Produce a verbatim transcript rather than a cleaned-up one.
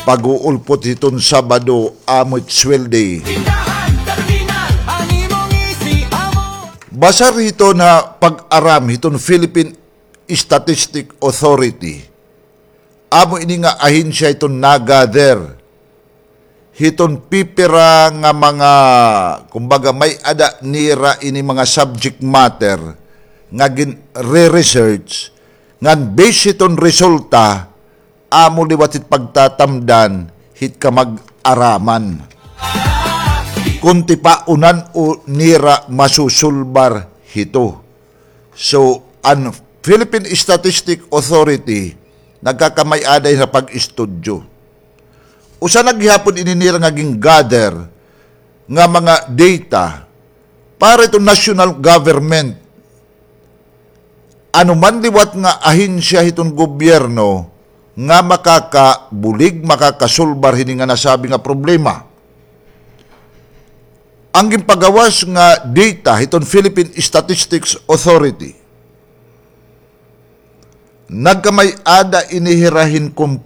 pag-uulpot hiton Sabado, amo it sweldi. Basar hiton ha pag-aram hiton Philippine Statistic Authority. Amo ini nga ahensya hiton nag-gather hiton pipira nga mga, kumbaga, may-ada nira ini mga subject matter nga gin-re-research, ngan base hiton resulta, amo liwat it pagtatamdan hit kamag-araman kon tipaunan o nira masusulbar hito. So, an Philippine Statistic Authority nagkakamay-ada ha pag-istudyo. Usa na gihapon ini nira nga gin-gather nga mga data para hiton national government. Ano man liwat nga ahensya hiton gobyerno nga makakabulig, makakasulbar hini nga nasabi nga problema. An ginpagawas nga data hiton Philippine Statistics Authority, nagkamay-ada ini hira hin kon